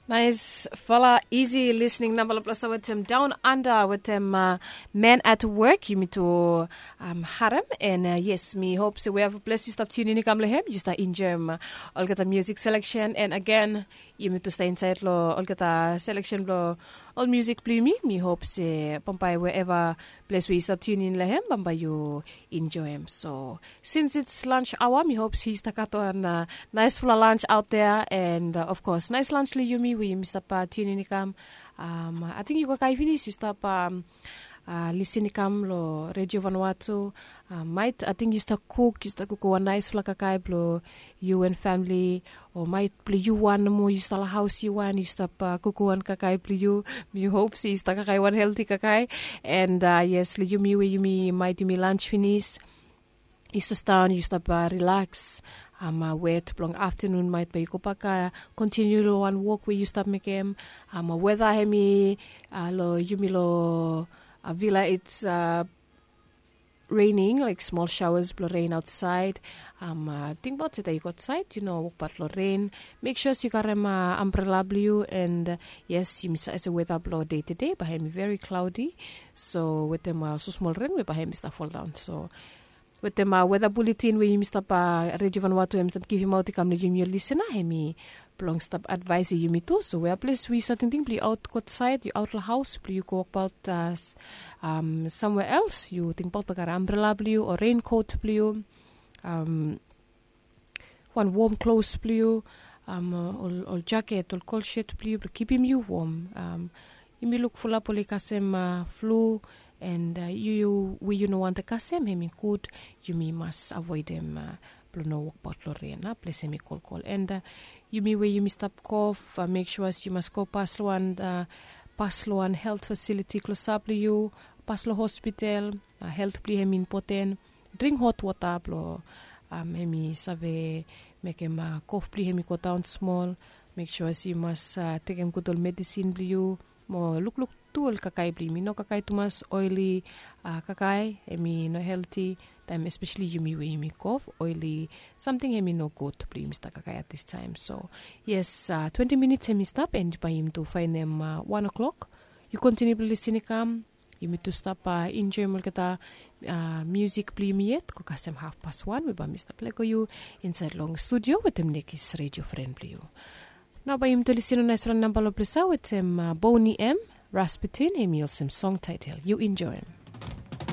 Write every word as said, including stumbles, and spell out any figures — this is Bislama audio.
Naisfala isi lisning namba long ples wetem Down Under wetem Man at Work. Yumi tu harem, and yes, mi hop se wherever ples yu stap tunin i kam long hem, yu stap enjoim olgeta music selection. And again, yumi tu stap insait long olgeta selection bilong ol music bilong yumi. Mi hop se bambae wherever ples we yu stap tunin long hem, bambae yu enjoim. So since it's lunch hour, mi hop se yu stap gat wan naisfala lunch out there, and of course nais lunch long yumi we yumi stap tunin i kam. Ating yu kakae finis, yu stap lisin i kam long Radio Vanuatu. Mait ating yu stap kuk, yu stap kuk wan naisfala kakae bilong yu and famili, o mait bilong yu wan nomo, yu stap long haus yu wan, yu stap kuk wan kakae bilong yu. Mi hop se yu stap kakae wan helti kakae. And yes, long yumi we yumi mait yumi lunch finis, yu stap daun, yu stap rilaks. Wet bilong aftanun mait bai yu go bak kontiniu long wan wok we yu stap mekim. Weta hemi long yumi long vila, it's raining, like small showers bilong rain outside. Tingbaot se taim yu go outside yu no wokbaot long rain, mek sua se yu karim ambrela bilong yu. And yes, yumi save se weta bilong de tude bai hemi very cloudy. So wetem ol smosmol ren we bai hemi stap foldaon, so wetem weta buletin we yumi stap, Radio Vanuatu hemi stap givimaot i kam long yumi ol lisina, hemi bilong stap advaesim yumi tu. So wea ples we yu save tingting bilong yu aut go outside, yu aut long haus bilong yu go wokbaot samwea els, yu tingbaot blong karim ambrela bilong yu o renkot bilong yu, wan wom klos bilong yu, ol jaket, ol kol shet bilong yu bilong kipim yu wom. Yumi luk fulap oli kasem flu, and yu we yu no wantem kasem, hemi gud yumi mas avoedem bilong no wokbaot long ren na ples hemi kolkol. And yumi we yumi stap kof, mek sua se yu mas go pas long wan, pas long wan helt fasiliti klosap long yu, pas long hospital. Helt bilong yu hemi impoten. Dring hot wota bilong hemi save mekim kof bilong yu hemi go daun smol. Mek sua se yu mas tekem gud ol medisin bilong yu. Mo lukluk tu ol kakae bilong yumi, no kakae tumas oeli kakae, hemi no helti. Taim espeseli yumi we yumi kof, oeli samting hemi no gud bilong yumi stap kakae at this time. So yes, twenti minits hemi stap, and bai yumi tu fainem wan o'clock. Yu kontiniu bilong lisin i kam. Yumi tu stap enjoim olgeta musik bilong yumi yet go kasem hafpas wan, we bai mi stap lego yu insait long studio wetem nekis redio fren bilong yu. Nao bai yumi tu lisin long naisfala namba long ples ya wetem Boni M Rasputin, hemi olsem song taitel, yu enjoim.